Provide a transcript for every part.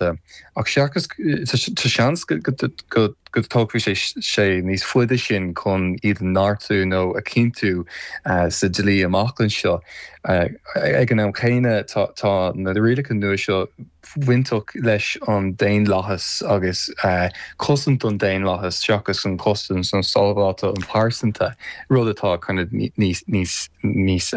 Ach seachas, tá seans go dtógfaidh sé níos faide sin chun iad a neartú nó a chinntiú sa dlí amach anseo. Ag an am chéanna, tá na rialacha nua seo bainteach leis an daonlathas agus cosaint don daonlathas seachas an chosaint nó sábháilteacht pearsanta, rud atá kind of níos níos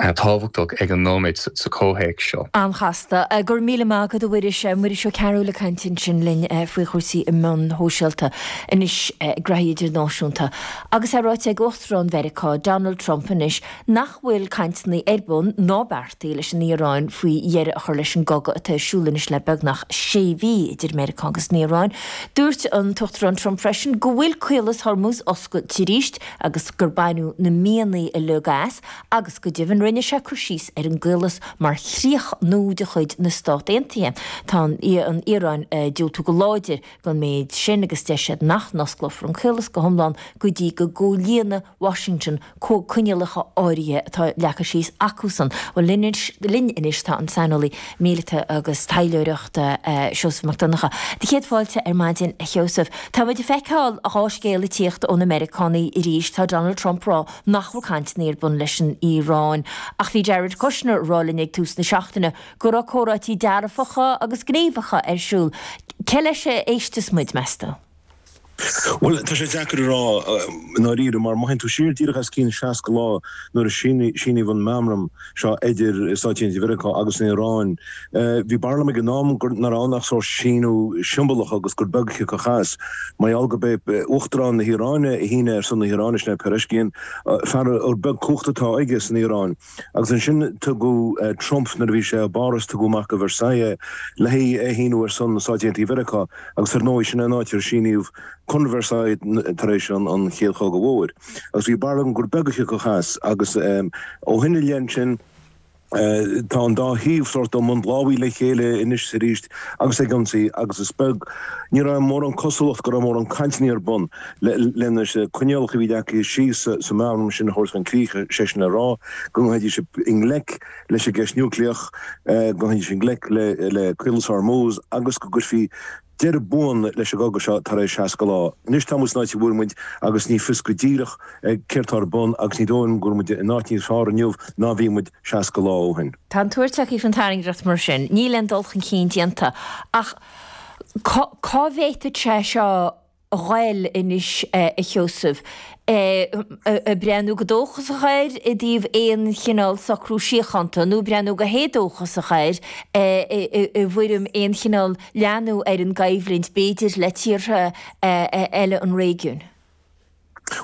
tábhachtach ag an nóiméad sa chomhthéacs seo. An-chasta. Go raibh míle maith agat a Mhuiris. Muiris Ó Cearúil ag caint ansin linn faoi chúrsaí na meán sóisialta anois graithí idirnáisiúnta. Agus é ráite ag Uachtarán Mheiriceá, Donald Trump anois nach bhfuil cainteanna ar bun ná beartaithe leis an Iaráin faoi dheireadh a chur leis an gcogadh atá ar siúl anois le beagnach sé mhí idir Meiriceá agus an Iaráin. Dúirt an tUachtarán Trump freisin go bhfuil Caolas Hormuz oscailte arís agus gur baineadh na mianaigh uilig as agus go deimhin rinne sé cur síos ar an gcaolas mar chríoch nua de chuid na Stát Aontaithe. Tá an Iaráin ag diúltú go láidir don méid sin agus deir siad nach n-osclófar an caolas go hiomlán go dtí go gcomhlíonfaidh Washington coinníollacha áirithe atá leagtha síos acusan. Bhuel, linn anois tá an saineolaí míleata agus taidhleoireachta, Seosamh Mac Donncha. Do chéad fáilte ar maidin, a Sheosaimh. Tá muid ag feiceáil an dá scéal ag tíocht ó na Meiriceánaigh arís. Tá Donald Trump ag rá nach bhfuil cainteanna ar bun leis an Iaráin. Ach bhí Jared Kushner ag rá linn ag tús na seachtaine go raibh comhráití dearfacha agus gníomhacha ar siúl. Cé leis a éisteas muid, meas tú? Bhuel, tá sé deacair a rá i ndáiríre, mar má théann tú siar díreach os cionn 60 lá nuair a síníodh an meamram seo idir Stáit Aontaithe Mheiriceá agus an Iaráin, bhí barúil agam ag an am nach raibh ann ach sórt síniú siombalach agus gur beag a thiocfadh as. Mar gheall gurb é Uachtarán na hIaráine a shínigh ar son na hIaráine, sin é Pezeshkian, fear gur beag cumhacht atá aige san Iaráin. Agus ansin tugadh Trump, nuair a bhí sé i bPáras, tugadh amach go Versailles é le hé a shíniú ar son na Stáit Aontaithe Mheiriceá agus ar ndóigh sin é an áit ar síníodh Conradh Versailles tar éis an Chéad Chogaidh Mhóir. Agus bhí barúil agam gur beag a thiocfadh as agus ó shin i leith ansin tá an dá thaobh sórt i mbun lámhaigh le chéile anois is arís agus ag ionsaí agus is beag, ní raibh mórán cosúlacht go raibh mórán cainteanna ar bun. Le na coinníollacha a bhí leagtha síos sa mheamram sin a thabhairt chun críche, sé sin le rá, go ngabhfaidís i ngleic leis an gceist núicléach, go ngabhfaidís i ngleic le Caolas Hormuz agus go gcuirfí deireadh buan leis an gcogadh seo tar éis 60 lá. Anois tá muid san áit a bhfuil muid agus ní fios go díreach céard atá ar bun agus ní dóigh liom go bhfuil muid in áit níos fearr inniu ná a bhí muid 60 lá ó shin. Tá an tuar tagtha faoin tairngreacht mar sin. Níl aon dul chun cinn déanta. Ach cá bhféadfadh sé seo a ghoil anois, a Sheosaimh, ag breathnú go dóchasach air i dtaobh aon chineál socrú síochánta nó ag breathnú go héadóchasach air i bhfoirm aon chineál leathnú ar an gcoimhlint, b'fhéidir, le tíortha eile an réigiúin?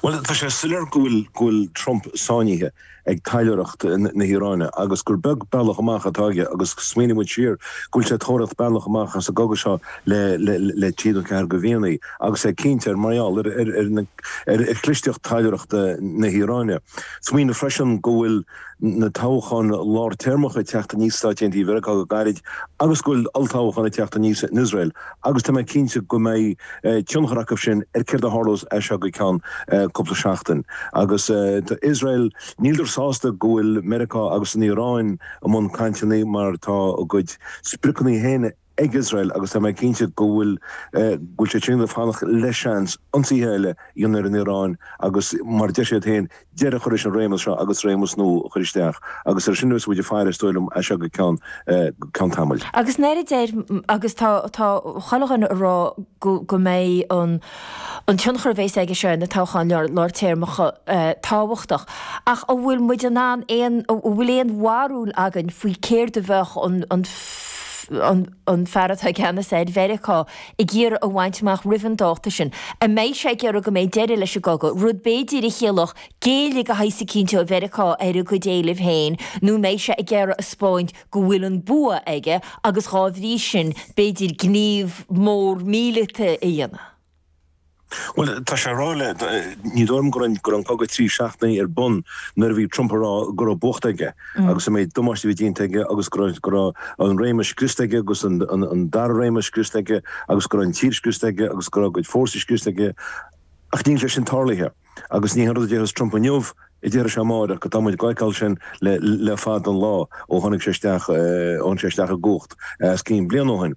Bhuel, tá sé soiléir go bhfuil go bhfuil Trump sáinnithe ag taidhleoireacht na hIaráine agus gur beag bealach amach atá aige agus smaoiníonn muid siar go bhfuil sé ag tóraíocht bealach amach as an gcogadh seo le le trí nó ceathair de mhíonna agus é cinnte ar mar gheall ar ar ar chlisteacht taidhleoireachta na hIaráine. Smaoineamh freisin go bhfuil na toghcháin lár-téarmacha ag teacht aníos sna Stáit Aontaithe Mheiriceá go gairid agus go bhfuil olltoghchán ag teacht aníos in Iosrael agus tá mé cinnte go mbeidh tionchar acu sin ar céard a tharlós as seo go ceann cúpla seachtain. Agus tá Iosrael, níleadar sásta go bhfuil Meiriceá agus an Iaráin i mbun cainteanna mar tá a gcuid spriocanna féin ag Iosrael agus tá mé cinnte go bhfuil go bhfuil siad sin ag fanacht le seans ionsaithe eile a dhéanamh ar an Iaráin agus mar a deir siad féin deireadh a chur leis an réimeas seo agus réimeas nua a chur isteach agus ar sin a bheas muid ag faire is dóigh liom as seo go ceann ceann tamaill. Agus nuair a deir agus tá tá chuile dhuine ag rá go go mbeidh an an tionchar a bheas aige seo ar na toghcháin lár téarmacha tábhachtach. Ach an bhfuil muid in ann aon, an bhfuil aon bharúil againn faoi céard a bheadh an, an, an, an fear atá i gceannas ar Mheiriceá ag iarraidh a bhaint amach roimh an dáta sin? An mbeidh sé ag iarraidh go mbeidh deireadh leis an gcogadh, rud b'fhéidir a chiallódh géilleadh de shaghas eicínt ó Mheiriceá ar a gcuid éilimh féin, nó an mbeidh sé ag iarraidh a 'spáint go bhfuil an bua aige agus dhá bhrí sin b'fhéidir gníomh mór míleata a dhéanamh. Bhuel, tá sé ag rá le, ní dóigh liom go raibh go raibh an cogadh 3 seachtainí ar bun nuair a bhí Trump ag rá go raibh buachta aige agus an méid damáiste a bhí déanta aige agus go raibh go raibh an réimeas scriosta aige agus an an dara réimeas scriosta aige agus go raibh an tír scriosta aige agus go raibh a gcuid fórsaí scriosta aige ach níl sé sin tarlaithe. Agus ní haon rud a déarfas Trump inniu. A déarfaidh sé amáireach, tá muid ag feiceáil sin le fada an lá ó tháinig sé isteach, ó tháinig sé isteach i gcumhacht os cionn bliain ó shin.